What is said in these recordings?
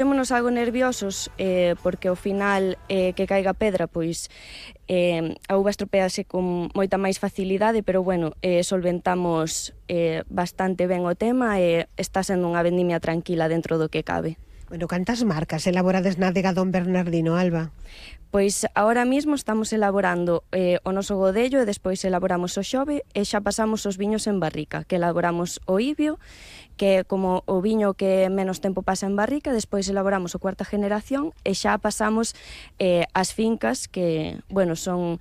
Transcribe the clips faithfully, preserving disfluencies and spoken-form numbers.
Témonos algo nerviosos eh, porque ao final eh, que caiga pedra, pois eh, a uva estropease con moita máis facilidade, pero bueno, eh, solventamos eh, bastante ben o tema e está sendo unha vendimia tranquila dentro do que cabe. Bueno, cantas marcas elaborades na adega Don Bernardino, Alba? Pois agora mesmo estamos elaborando eh, o noso godello e despois elaboramos o xove e xa pasamos os viños en barrica, que elaboramos o ibio, que é como o viño que menos tempo pasa en barrica, despois elaboramos o cuarta generación e xa pasamos eh, as fincas que, bueno, son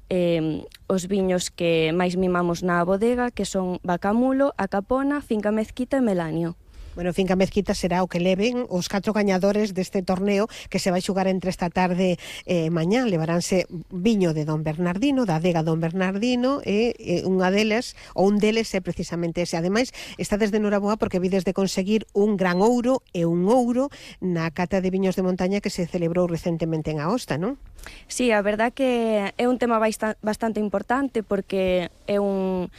eh, os viños que máis mimamos na bodega, que son Bacamulo, A Capona, Finca Mezquita e Melanio. Bueno, Finca Mezquita será o que leven os catro gañadores deste torneo que se vai xugar entre esta tarde e mañá. Levaránse viño de Don Bernardino, da adega Don Bernardino, e, e unha deles, ou un deles é precisamente ese. Ademais, está desde Noraboa porque vides de conseguir un gran ouro e un ouro na cata de viños de montaña que se celebrou recentemente en Aosta, non? Sí, a verdad que é un tema bastante importante porque é un...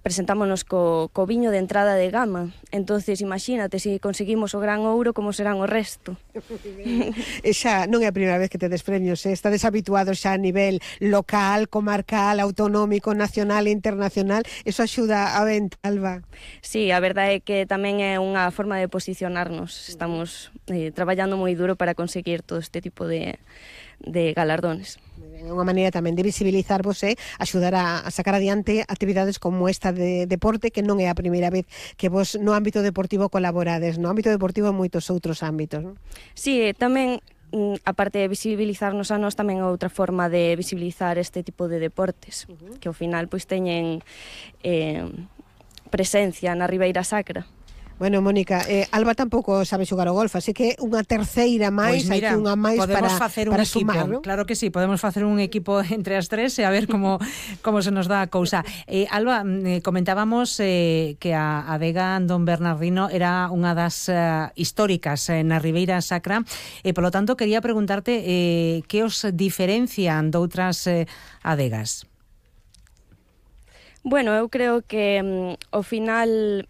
presentámonos co, co viño de entrada de gama, entonces imagínate, se si conseguimos o gran ouro, como serán o resto. E xa non é a primeira vez que te des premios, eh? Estades habituados xa a nivel local, comarcal, autonómico, nacional e internacional, eso axuda a venta, Alba. Sí, a verdade é que tamén é unha forma de posicionarnos, estamos eh, traballando moi duro para conseguir todo este tipo de, de galardones. É unha maneira tamén de visibilizarvos e axudar a, a sacar adiante actividades como esta de deporte, que non é a primeira vez que vos no ámbito deportivo colaborades, no ámbito deportivo en moitos outros ámbitos, non? Sí, tamén, a parte de visibilizarnos a nós, tamén é outra forma de visibilizar este tipo de deportes, uh-huh. que ao final pois teñen eh, presencia na Ribeira Sacra. Bueno, Mónica, eh, Alba tampouco sabe xogar o golf, así que unha terceira máis, Pois mira, hai que unha máis para, facer un para equipo, sumar, ¿no? Claro que sí, podemos facer un equipo entre as tres e a ver como, como se nos dá a cousa. Eh, Alba, eh, comentábamos eh, que a adega Don Bernardino era unha das uh, históricas eh, na Ribeira Sacra, e polo tanto quería preguntarte eh, que os diferencian doutras eh, adegas? Bueno, eu creo que um, ao final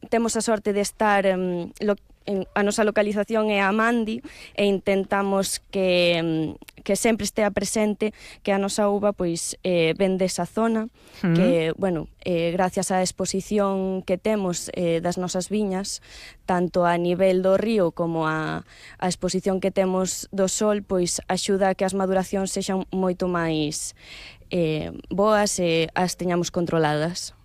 temos a sorte de estar um, lo, en, a nosa localización é a Mandi e intentamos que, um, que sempre estea presente que a nosa uva pois eh, ven desa zona, mm. que, bueno, eh, gracias á exposición que temos eh, das nosas viñas, tanto a nivel do río como a, a exposición que temos do sol, pois axuda a que as maduracións sexan moito máis eh, boas e as teñamos controladas.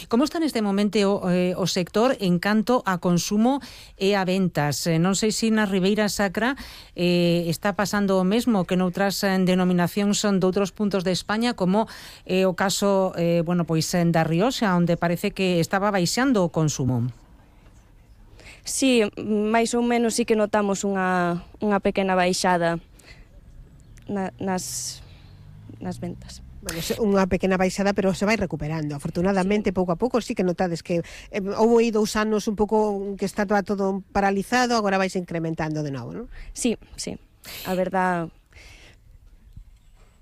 Como está neste momento o, eh, o sector en canto a consumo e a ventas? Eh, non sei se na Ribeira Sacra eh, está pasando o mesmo que noutras eh, denominacións son de outros puntos de España, como eh, o caso eh, bueno, pois da Rioxa, onde parece que estaba baixando o consumo. Sí, máis ou menos sí que notamos unha, unha pequena baixada na, nas, nas ventas. Bueno, unha pequena baixada, pero se vai recuperando. Afortunadamente, sí. pouco a pouco, sí que notades que eh, houve aí dous anos un pouco que está todo paralizado, agora vais incrementando de novo, non? Sí, sí. A verdad...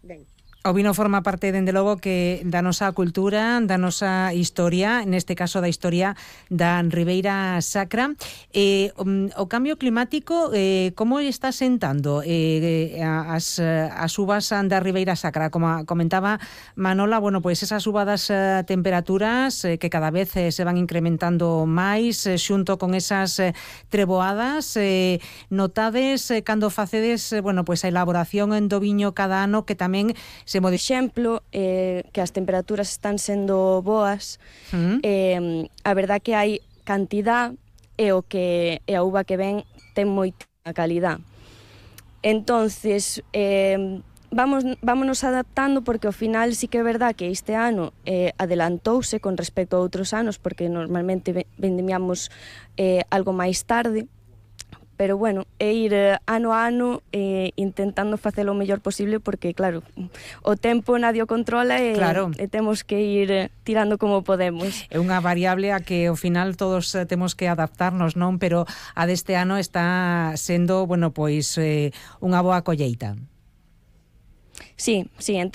Ben. O vino forma parte, dende logo, que da nosa cultura, da nosa historia, neste caso da historia da Ribeira Sacra. Eh, o cambio climático, eh, como está sentando eh, as, as uvas da Ribeira Sacra? Como comentaba Manola, bueno, pois pues esas subadas eh, temperaturas eh, que cada vez eh, se van incrementando máis, eh, xunto con esas eh, treboadas, eh, notades eh, cando facedes, eh, bueno, pois pues a elaboración do viño cada ano, que tamén se Por exemplo, eh, que as temperaturas están sendo boas, uh-huh. eh, a verdad que hai cantidad e o que e a uva que ven ten moita calidad. Entonces, eh, vamos vámonos adaptando, porque ao final sí que é verdad que este ano eh, adelantouse con respecto a outros anos, porque normalmente vendimiamos eh, algo máis tarde. Pero bueno, é ir ano a ano eh, intentando facelo o mellor posible, porque claro, o tempo nadie o controla e, claro. e temos que ir tirando como podemos. É unha variable a que ao final todos temos que adaptarnos, non? Pero a deste ano está sendo, bueno, pois eh, unha boa colleita. Sí, sí,